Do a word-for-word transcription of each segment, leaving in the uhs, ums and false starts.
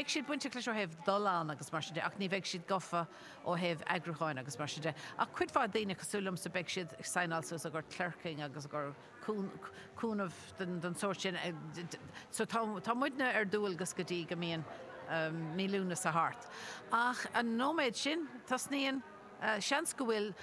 Beidh siad bainteach leis ó thaobh dul ann agus mar sin de, ach ní bheidh siad gafa ó thaobh eagrúcháin agus mar sin de. Ach cuid mhaith daoine cosúil liomsa beidh siad ag signáil suas i gcomhair clerking agus i gcomhair cúnamh den den sórt sin. So tá tá muidne ar dualgas go dtí go mbíonn mí Lúnasa thart. Ach an nóiméad sin tosnaíonn seans go bhfuil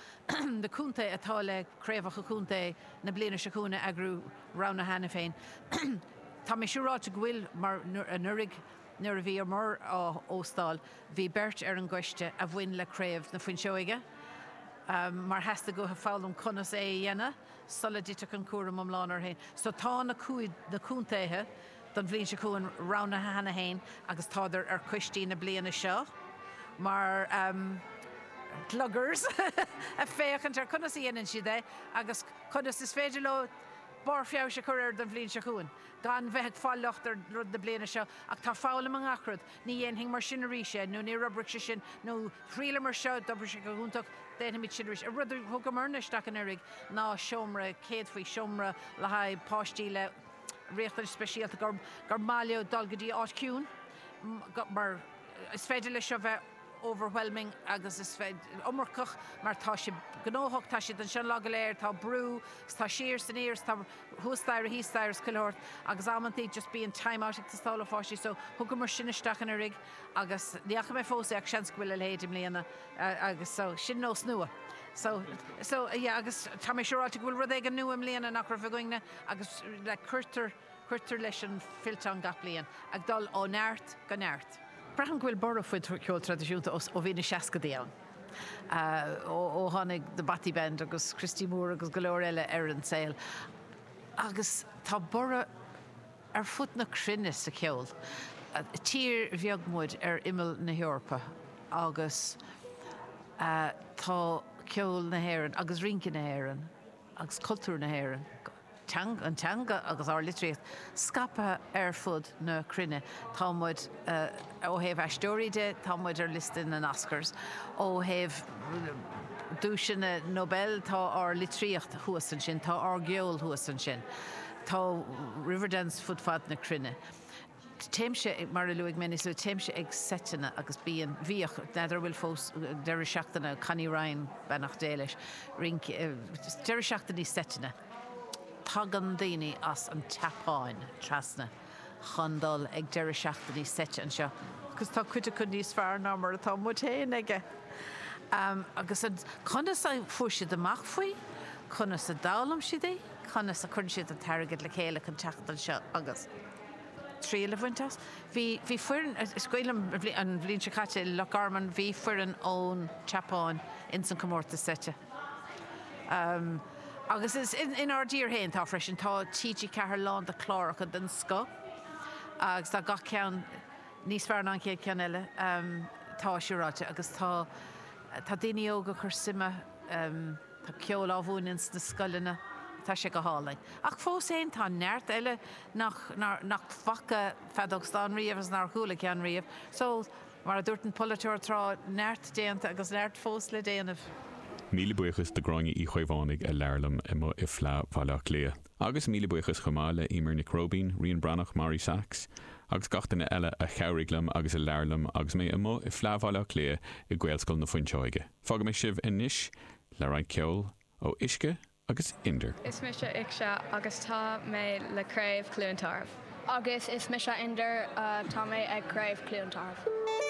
na contaetha atá le craobhacha contae na bliana seo chugainn a eagrú roghnaithe cheana féin. Tá mé siúráilte go bhfuil mar anuraidh nuair a bhíomar á óstáil bhí beirt ar an gcoiste a bhain le craobh na Fuinseoige mar theastaigh uathu foghlaim conas é a dhéanamh sula dtitfeadh an cúram iomlán orthu féin. So tá na na contaetha don bhliain seo chugainn roghnaithe cheana féin agus tádar ar choistí na bliana seo mar um, gluggers ag féachaint ar conas a dhéanann siad é agus conas is féidir leo barr feabhais a chur air don bhliain seo chugainn. Gan bheith ag fáil locht ar rud na bliana seo ach tá foghlaim i ngach rud, ní dhéanfainn mar sin arís é, nó níor oibrigh sé sin, nó thriaileamar seo, d'oibrigh sé go hiontach, déanfaimid sin arís. An rud a thugamarna isteach anuraidh ná seomra céadfaí, seomra le haghaidh páistí le riachtanais speisialta gur gur maith leo dul go dtí áit chiúin mar is féidir leis seo bheith overwhelming agus is iomarcach mar tá sé gnóthach, tá siad anseo lá go léir, tá brú, tá siar san iar, tá thuas staighre thíos staighre is chuile shórt agus amantaí just bíonn time out ag teastáil ó pháistí so thugamar sin isteach anuraidh agus ní fhaca mé fós é ach seans go bhfuil a leithéid i mbliana agus so sin nós nua. So so yeah agus tá mé siúráilte go bhfuil rud éigin nua i mbliana nach raibh againne agus le cuirtear cuirtear leis an fillteán gach bliain ag dul ó neart go neart. Braithim go bhfuil borradh faoin cheol traidisiúnta ó bhí na seascadaí ann. Ó tháinig The Bothy Band agus Christy Moore agus go leor eile ar an saol. Agus tá borradh ar fud na cruinne sa cheol. Tír bheag muid ar imeall na hEorpa agus tá ceol na hÉireann agus rince na hÉireann agus cultúr na hÉireann, an teanga agus ár litríocht scaipthe ar fud na cruinne. Tá muid ó thaobh aisteoirí de, tá muid ar liosta na nOscars. Ó thaobh duaiseanna Nobel tá ár litríocht thuas ansin, tá ár gceol thuas ansin. Tá Riverdance fud fad na cruinne. Téimse mar a luaigh mé níos luaithe, téimse ag seiteanna agus bíonn bhíodh n'fheadar bhfuil fós deireadh seachtaine Connie Ryan beannacht Dé leis, rince deireadh seachtaine seiteanna. Tagann daoine as an tSeapáin trasna chun dul ag deireadh seachtainí seite anseo, agus tá cuid acu níos fearr ná mar atá muid féin aige. Um, agus an conas a fuair siad amach faoi, conas a d'fhoghlaim siad é, conas a chuireann siad an t-airgead le chéile chun teacht anseo agus triail a bhaint as. Bhí bhí foireann is cuimhin liom an bhliain seo caite i Loch Garman bhí foireann ón tSeapáin ins an comórtas seite. Um, agus is in, inár dtír féin tá freisin tá TG Ceathair lán de chláracha den scoth agus tá gach ceann níos fearr ná an chéad ceann eile um, tá siúráilte agus tá tá daoine óga ag cur suime um, tá ceol á mhúineadh sna scoileanna tá sé go hálainn. Ach fós féin tá neart eile nach, nach bhfaca feadóg stáin riamh agus nár chuala ceann riamh. So mar a dúirt an polaiteoir tráth neart déanta agus neart fós le déanamh. Míle buíochas do Ghráinne Uí Chaomhánaigh a labhair liom amuigh i Fleadh Bhaile Átha Cliath. Agus míle buíochas chomh maith le Emer Nic Róibín, Rian Breathnach, Mary Sachs, agus gach duine eile a chabhraigh liom agus a labhair liom agus mé amuigh i Fleadh Bhaile Átha Cliath i Gaelscoil na Fuinseoige. Fágfaidh mé sibh anois le roinnt ceoil ó Uisce agus Inder. Is mise Uisce agus tá mé le Craobh Chluain Tarbh. Agus is mise Inder uh, tá mé ag Craobh Chluain Tarbh.